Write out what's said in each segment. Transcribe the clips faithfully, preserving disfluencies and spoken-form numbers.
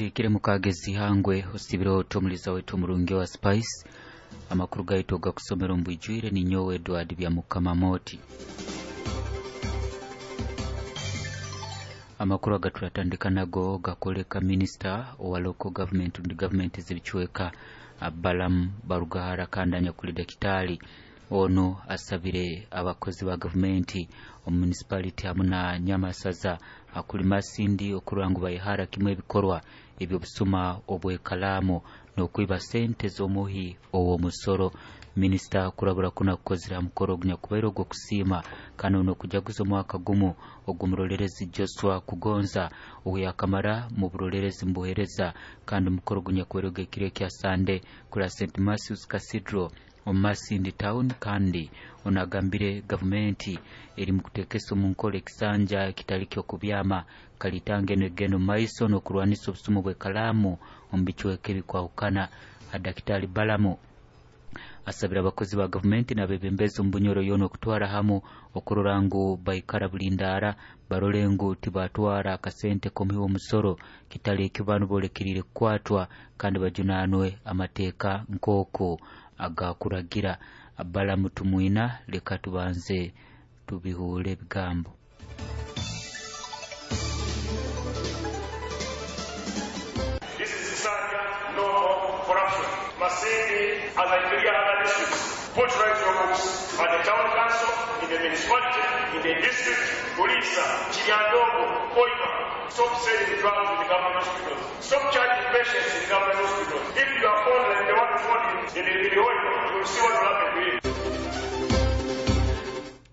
Zikire mukagezi hangwe osibiro tomuliza wetu murungi wa Spice amakuru gaitu gakusomera mbwijwire ni nyowe Edward bya Mukama Moti. Amakuru agaturatandika nago gakoleka minister wa local government and government zibichweka Balaam Barugahara kandanya kuli dakitali ono asabire abakozi ba government omu municipality hamuna Nyamasaza akuli Masindi okurangu bayihara kimwe ebikorwa ebyo busuma obwekalamu n'okwiba sente z'omuhi owo musoro. Minister kurabura kuna kukozera mukoro gunya kubairo gwo kusiima kano no kujaguza omwaka gumu ogumurolerezi Joshua Kugonza oyakamara mu burolerezi mbuhereza kandi mukoro gunya kubairo gekire kya Sunday kula Saint Matthews Cathedral Omasindi town kandi onagambire gavumenti eri mukutekesa omunkole ekisanja kitali kyo kubyama kalitange negeno maiso n'okurwanisa obusumu bw'ekalamu omu bichweka ebikwahukana. Daktari Balamu asabira abakozi ba gavumenti n'abebembezi omu Bunyoro yoona okutwara hamu okurora ngu baikara bulindara barole ngu tibatwara akasente k'omuhi w'omusoro kitali ekyo banu bolekeriire kukwatwa kandi bajunanwe amateeka nk'oku agakuragira. Balamu tumwina leka tubanze tubihuule ebigambo. This is Kisanja, no more corruption. Masindi, as I clear other districts, put right your books at the town council, in the municipality, in the district, Bulisa, Kiryandongo, Hoima. Stop selling drugs in the government hospitals. Stop charging patients in government hospitals. If you are found like the one found in, in, in Hoima, you will see what will happen to you.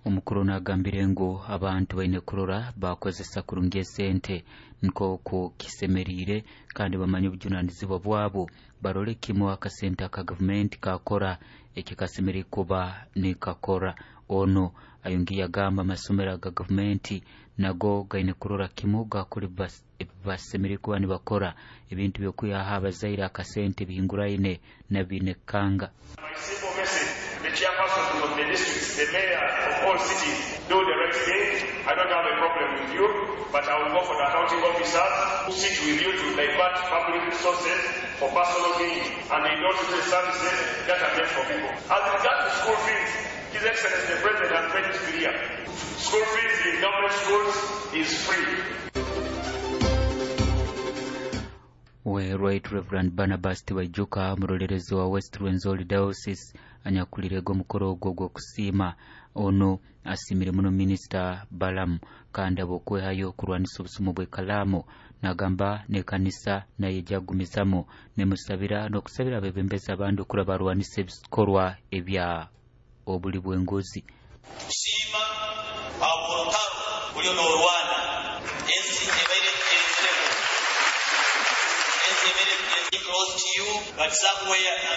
Omukuru nagambire ngu abantu baine kurora bakozesa kurungi esente nk'oku kisemeriire kandi bamanye obujunanizibwa bwabo barole kimu akasente aka gavumenti kakora ekikasemeriire kuba nikakora. Ono ayongiye agamba amasomero aga gavumenti nago gaine kurora kimu gakora ebibasemeriire kuba nibakora ebintu by'okwihaho abazaire akasente bihinguraine na binekanga. My simple message, the chairpersons of the districts, the mayor of all cities, do the right thing. I don't have a problem with you, but I will go for the accounting officers who sit with you to divert public resources for personal gain, and they don't do the services that are meant for people. As regards to school fees, His Excellency the President has made it clear. School fees in government schools is free. We Right Reverend Barnabas Tibaijuka murolerezi wa West Rwenzori Diocese anyakulirego omukoro ogwo gw'okusiima. Ono asimire muno Minisita Balamu kandi abokwehayo okurwanisa obusumu bw'ekalamu nagamba n'ekanisa naye ejagumizamu nemusabira n'okusabira abebembezi abandi okura barwanisa ebikorwa ebya obuli bw'enguzi. Tusiima aborotaro buli n'orwana ensi ebaire enziremu ensi ebaire close to you but somewhere.